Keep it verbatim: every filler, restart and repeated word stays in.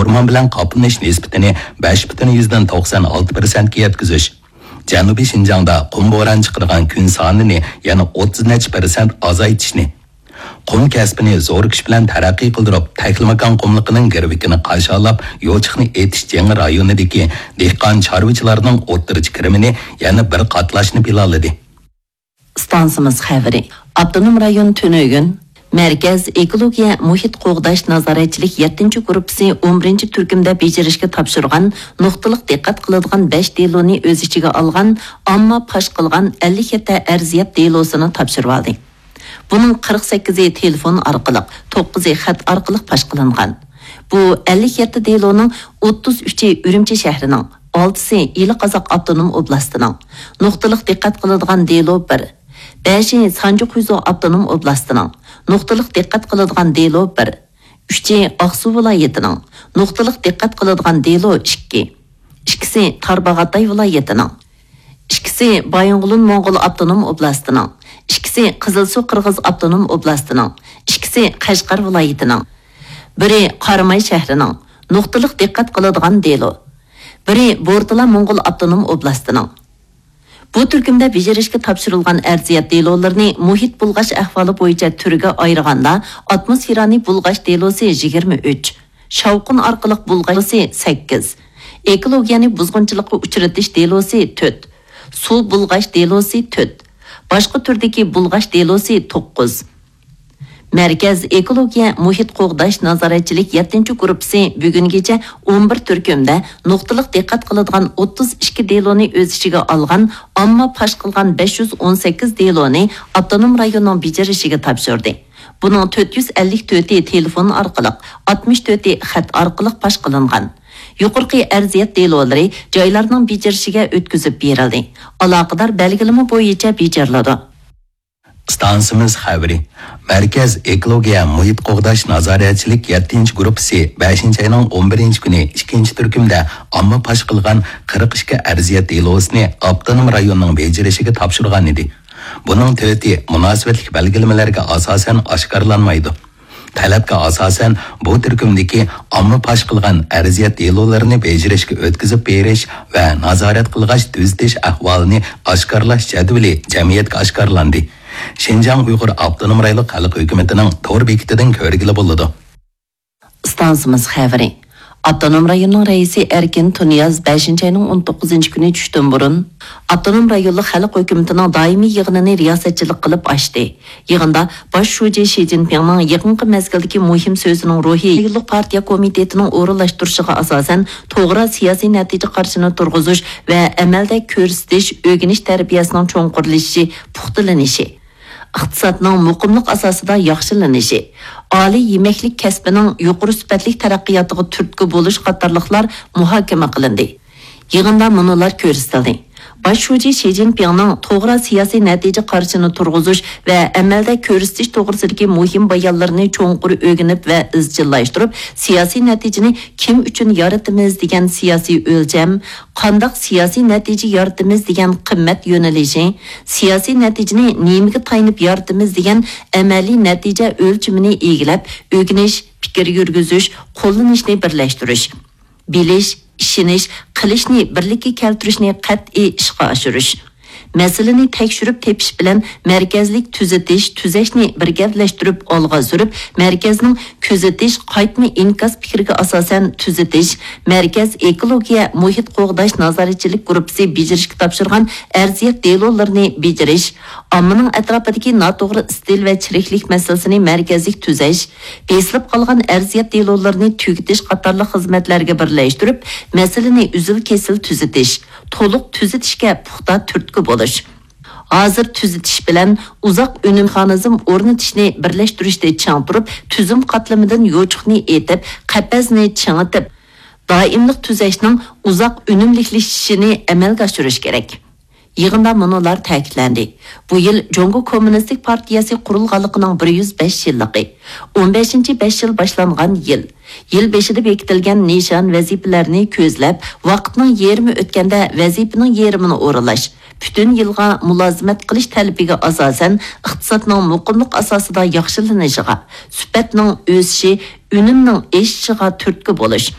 ئورمان بىلەن قاپلىنىش نىسبىتىنى بەش پۈتۈن يۈزدىن توقسان ئالتە پىرسەنتكە يەتكۈزۈش، جەنۇبىي شىنجاڭدا قۇم بوران چىقىدىغان كۈن سانىنى يەنە ئوتتۇز نەچچە پىرسەنت ئازايتىشنى، قۇم كەسپىنى زور كۈچ بىلەن تەرەققىي قىلدۇرۇپ، تەكلىماكان قۇملۇقىنىڭ گىرۋىكىنى قاشالاپ، يوچۇقنى ئېتىش جېڭى رايونىدىكى دېھقان، چارۋىچىلارنىڭ ئوتتۇرىچە كىرىمىنى يەنە بىر قاتلاشنى پىلانلىدى. ئىستانسىمىز خەۋىرى. ئاپتونوم رايون تۈنۈگۈن مەركەز ئېكولوگىيە مۇھىت قوغداش نازارەتچىلىك يەتتىنچى گۇرۇپپىسى ئون بىرىنچى تۈركۈمدە بېجىرىشكە تاپشۇرغان نۇقتىلىق دىققەت قىلىدىغان بەش دېلونى ئۆز ئىچىگە ئالغان ئامما پاش قىلغان ئەللىك يەتتە ئەرزىيەت دېلوسىنى تاپشۇرۇۋالدى. بۇنىڭ قىرىق سەككىزى تېلېفون ئارقىلىق، توققۇزى خەت ئارقىلىق پاش قىلىنغان. بۇ ئەللىك يەتتە دېلونىڭ ئوتتۇز ئۈچى ئۈرۈمچى شەھىرىنىڭ، ئالتىسى ئىلى قازاق ئاپتونوم ئوبلاستىنىڭ، نۇقتىلىق دىققەت قىلىدىغان دېلو بىر، بەشى سانجى خۇيزۇ ئاپتونوم ئوبلاستىنىڭ، نۇقتىلىق دىققەت قىلىدىغان دېلو بىر، ئۈچى ئاقسۇ ۋىلايىتىنىڭ، نۇقتىلىق دىققەت قىلىدىغان دېلو ئىككى، ئىككىسى تارباغاتاي ۋىلايىتىنىڭ، ئىككىسى بايىنغولىن موڭغۇل ئاپتونوم ئوبلاستىنىڭ، ئىككىسى قىزىلسۇ قىرغىز ئاپتونوم ئوبلاستىنىڭ، ئىككىسى قەشقەر ۋىلايىتىنىڭ، بىرى قاراماي شەھىرىنىڭ، نۇقتىلىق دىققەت قىلىدىغان دېلو، بىرى بورتالا موڭغۇل ئاپتونوم ئوبلاستىنىڭ. بۇ تۈركۈمدە بېجىرىشكە تاپشۇرۇلغان ئەرزىيەت دېلولىرىنى مۇھىت بۇلغاش ئەھۋالى بويىچە تۈرگە ئايرىغاندا، ئاتموسفېرانى بۇلغاش دېلوسى يىگىرمە ئۈچ، شاۋقۇن ئارقىلىق بۇلغاش دېلوسى سەككىز، ئېكولوگىيەنى بۇزغۇنچىلىققا ئۇچرىتىش دېلوسى تۆت، سۇ بۇلغاش دېلوسى تۆت، باشقا تۈردىكى بۇلغاش دېلوسى توققۇز. مەركەز ئېكولوگىيە مۇھىت قوغداش نازارەتچىلىك يەتتىنچى گۇرۇپپىسى بۈگۈنگىچە ئون بىر تۈركۈمدە نۇقتىلىق دىققەت قىلىدىغان ئوتتۇز ئىككى دېلونى ئۆز ئىچىگە ئالغان ئامما پاش قىلغان بەش يۈز ئون سەككىز دېلونى ئاپتونوم رايوننىڭ بېجىرىشىگە تاپشۇردى. بۇنىڭ تۆت يۈز ئەللىك تۆتى تېلېفون ئارقىلىق، ئاتمىش تۆتى خەت ئارقىلىق پاش قىلىنغان. يۇقىرىقى ئەرزىيەت دېلولىرى جايلارنىڭ بېجىرىشىگە ئۆتكۈزۈپ بېرىلدى. ئالاقىدار بەلگىلىمە بويىچە بېجىرىلىدۇ. ئىستانسىمىز خەۋىرى. مەركەز ئېكولوگىيە مۇھىت قوغداش نازارەتچىلىك يەتتىنچى گۇرۇپپىسى بەشىنچى ئاينىڭ ئون بىرىنچى كۈنى ئىككىنچى تۈركۈمدە ئامما پاش قىلغان قىرىق ئىككى ئەرزىيەت دېلوسىنى ئاپتونوم رايوننىڭ بېجىرىشىگە تاپشۇرغان ئىدى. بۇنىڭ تۆتى مۇناسىۋەتلىك بەلگىلىمىلەرگە ئاساسەن ئاشكارىلانمايدۇ. تەلەپكە ئاساسەن، بۇ تۈركۈمدىكى ئامما پاش قىلغان ئەرزىيەت دېلولىرىنى بېجىرىشكە ئۆتكۈزۈپ بېرىش ۋە نازارەت قىلغاچ تۈزىتىش ئەھۋالىنى ئاشكارىلاش جەدۋىلى جەمئىيەتكە ئاشكارىلاندى. شىنجاڭ ئۇيغۇر ئاپتونوم رايونلۇق خەلق ھۆكۈمىتىنىڭ تور بېكىتىدىن كۆرگىلى بولىدۇ. ئىستانسىمىز خەۋىرى. ئاپتونوم رايوننىڭ رەئىسى ئەركىن تۇنىياز بەشىنچى ئاينىڭ ئون توققۇزىنچى كۈنى چۈشتىن بۇرۇن، ئاپتونوم رايونلۇق خەلق ھۆكۈمىتىنىڭ دائىمىي يىغىنىنى رىياسەتچىلىك قىلىپ ئاچتى. يىغىندا باش شۇجى شى جىنپىڭنىڭ يېقىنقى مەزگىلدىكى مۇھىم سۆزىنىڭ روھى، رايونلۇق پارتىيە كومىتېتىنىڭ ئورۇنلاشتۇرۇشىغا ئاساسەن، توغرا سىياسىي نەتىجە قارىشىنى تۇرغۇزۇش ۋە ئەمەلدە كۆرسىتىش، ئۆگىنىش تەربىيەسىنىڭ چوڭقۇرلىشىشى، پۇختىلىنىشى، ئىقتىسادنىڭ مۇقىملىق ئاساسىدا ياخشىلىنىشى، ئالىي يېمەكلىك كەسپىنىڭ يۇقىرى سۈپەتلىك تەرەققىياتىغا تۈرتكە بولۇش قاتارلىقلار مۇھاكىمە قىلىندى. يىغىندا مۇنۇلار كۆرسىتىلدى. باش شۇجى شى جىنپىڭنىڭ توغرا سىياسىي نەتىجە قارىشىنى تۇرغۇزۇش ۋە ئەمەلدە كۆرسىتىش توغرىسىدىكى مۇھىم بايانلىرىنى چوڭقۇر ئۆگىنىپ ۋە ئىزچىللاشتۇرۇپ، سىياسىي نەتىجىنى كىم ئۈچۈن يارىتىمىز دېگەن سىياسىي ئۆلچەم، قانداق سىياسىي نەتىجە يارىتىمىز دېگەن قىممەت يۆنىلىشى، سىياسىي نەتىجىنى نېمىگە تايىنىپ يارىتىمىز دېگەن ئەمەلىي نەتىجە ئۆلچىمىنى ئىگىلەپ، ئۆگىنىش، پىكىر يۈرگۈزۈش، قوللىنىشنى بىرلەشتۈرۈش، بىلىش، ئىشىنىش، قىلىشنى بىرلىككە كەلتۈرۈشنى قەتئىي ئىشقا ئاشۇرۇش. مەسىلىنى تەكشۈرۈپ تېپىش بىلەن مەركەزلىك تۈزىتىش، تۈزەشنى بىر گەۋدىلەشتۈرۈپ ئالغا سۈرۈپ، مەركەزنىڭ كۆزىتىش، قايتما ئىنكاس پىكرىگە ئاساسەن تۈزىتىش، مەركەز ئېكولوگىيە مۇھىت قوغداش نازارەتچىلىك گۇرۇپپىسى بېجىرىشكە تاپشۇرغان ئەرزىيەت دېلولىرىنى بېجىرىش، ئاممىنىڭ ئەتراپىدىكى ناتوغرا ئىستىل ۋە چىرىكلىك مەسىلىسىنى مەركەزلىك تۈزەش، بېسىلىپ قالغان ئەرزىيەت دېلولىرىنى تۈگىتىش قاتارلىق خىزمەتلەرگە بىرلەشتۈرۈپ، مەسىلىنى ئۈزۈل-كېسىل تۈزىتىش، تولۇق تۈزىتىشكە پۇختا تۈرتكە بولۇش. ھازىر تۈزىتىش بىلەن ئۇزاق ئۈنۈم مېخانىزم ئورنىتىشنى بىرلەشتۈرۈشتە چىڭ تۇرۇپ، تۈزۈم قاتلىمىدىن يوچۇقنى ئېتىپ، قەپەسنى چىڭىتىپ، دائىملىق تۈزەشنىڭ ئۇزاق ئۈنۈملۈكلىشىشىنى ئەمەلگە ئاشۇرۇش كېرەك. يىغىندا مۇنۇلار تەكىتلەندى: بۇ يىل جۇڭگو كوممۇنىستىك پارتىيەسى قۇرۇلغانلىقىنىڭ بىر يۈز بەش يىللىقى، ئون بەشىنچى بەش يىل باشلانغان يىل، يىل بېشىدا بېكىتىلگەن نىشان، ۋەزىپىلەرنى كۆزلەپ، ۋاقىتنىڭ يېرىمى ئۆتكەندە ۋەزىپىنىڭ يېرىمىنى ئورۇنلاش، پۈتۈن يىلغا مۇلازىمەت قىلىش تەلىپىگە ئاساسەن، ئىقتىسادنىڭ مۇقىملىق ئاساسىدا ياخشىلىنىشىغا، سۈپەتنىڭ ئۆسۈشى، ئۈنۈمنىڭ ئېشىشىغا تۈرتكە بولۇش،